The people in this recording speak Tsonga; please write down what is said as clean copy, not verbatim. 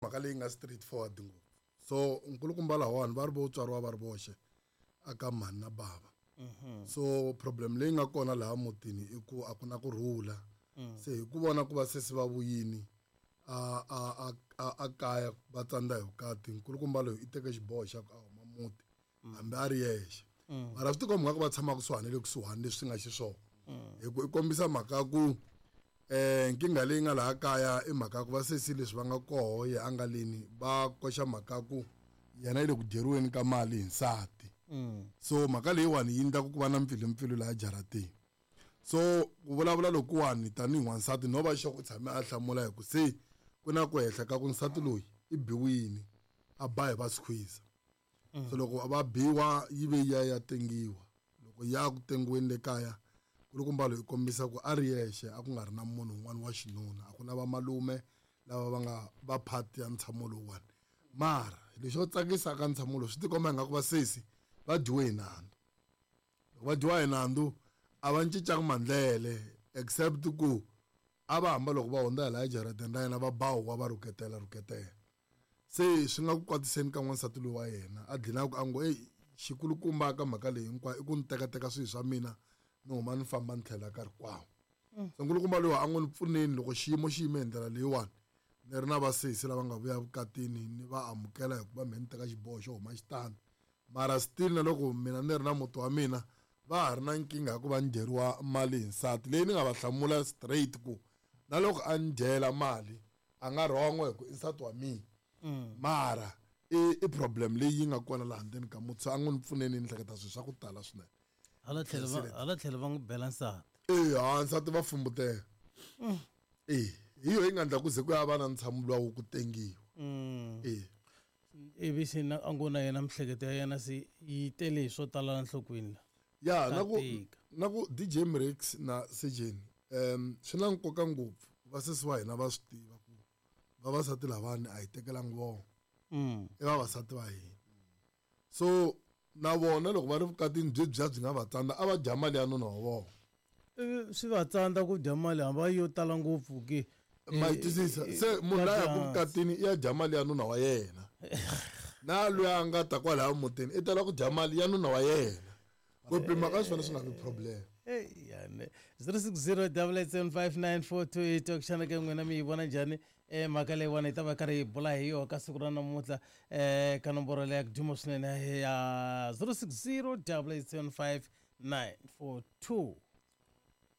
Mhaka leyi nga straight forward ngopfu. So nkulukumba lahawani va ri vo tswariwa va ri voxe aka mhani na bava. So problem leyi nga kona laha mutini i ku a ku na ku rhula. Se hi ku vona ku va sesi va vuyini a a a a a kaya va tsandza hi vukati, nkulukumba loyi i teke xiboho xa ku a huma muti hambi a ri yexe. Mara swi tikomba nga ku va tshama kusuhani le kusuhani leswi nga xiswona. Hi ku i kombisa mhaka ya ku nkingha leyi nga laha kaya i mhaka ya ku vasesi leswi va nga koho ye a nga leni va koxa mhaka ya ku yena yi le ku dyeriweni ka mali hi nsati. So mhaka leyiwani yi endla ku va na mpfilumpfilu laha jarateni. So ku vulavula lokuwani tanihi n'wansati no va xo ku tshame a hlamula hi ku se ku na ku hehla ka ku nsati loyi i biwini a ba hi va squeeze. So loko va biwa yi ve ya ya tengiwa. Loko ya ku tengiweni le kaya nkulukumba loyi kombisa ku a ri yexe a ku nga ri na munhu un'wana wa xinuna, a ku na vamalume lava va nga va part ya ntshamo lowuwani. Mara lexo tsakisa ka ntshamo lowu swi tikomba ingaku vasesi va dyiwe hi nandzu. Loko va dyiwa hi nandzu a va cincanga mandlele except ku a va hamba loko va hundza hi laha ejarateni ra yena va ba huwa va rhuketela rhuketela. Se swi nga ku kwatiseni ka n'wansati loyi wa yena a dlina ku a ngo eyi xikulukumba ka mhaka leyi hinkwayo i ku ni tekateka swilo swa mina ni huma ni famba ni tlhela ka rikwavo. Se nkulukumba loyi a ngo ni pfuneni loko xiyimo xi yime hi ndlela leyiwani ni ri na vasesi lava nga vuya vukatini ni va amukela hikuva mehe ni teka xiboho xo huma xitandi. Mara still na loko mina ni ri na muti wa mina va ha ri na nkingha ya ku va ni dyeriwa mali hi nsati leyi ni nga va hlamula straight ku na loko a ni dyela mali a nga wrong hi ku i nsati wa mina. Mara i problem leyi yi nga kona laha ndzeni ka muti, so a ngo ni pfuneni ni hleketa swilo swa ku tala swinene. Hala tlhelo va hala tlhelo va n'wi bela nsati. E ha nsati va fumbutela. E hi yo yi nga endla ku ze ku ya va na ntshamo luwa wo ku tengiwa. E Ivi se na a ngo na yena mihleketo ya yena se yi tele hi swo tala la nhlokweni la. Ya na ku na ku DJ Mrex na Sejeni swi na nkoka ngopfu vasesi wa hina va swi tiva ku vavasati lavani a hi tekelangi vona. I vavasati va hina. So na vona loko va ri vukatini byi bya byi nga va tsandza a va dya mali ya nuna wa vona. Swi va tsandza ku dya mali hambi yo tala ngopfu ke. Ma yi twisisa? Se munhu la yaka vukatini i ya dya mali ya nuna wa yena. Na loyi a nga ta kwalaya mutini i tala ku dya mali ya nuna wa yena. Ku pima ka swona swi nga vi problem. Yani 060 8759428 xana ke n'wina mi yi vona njhani mhaka leyiwani hi ta va karhi hi bula hi yona ka siku ra namuntlha ka nomboro leya ku duma swinene ya 060 875 942.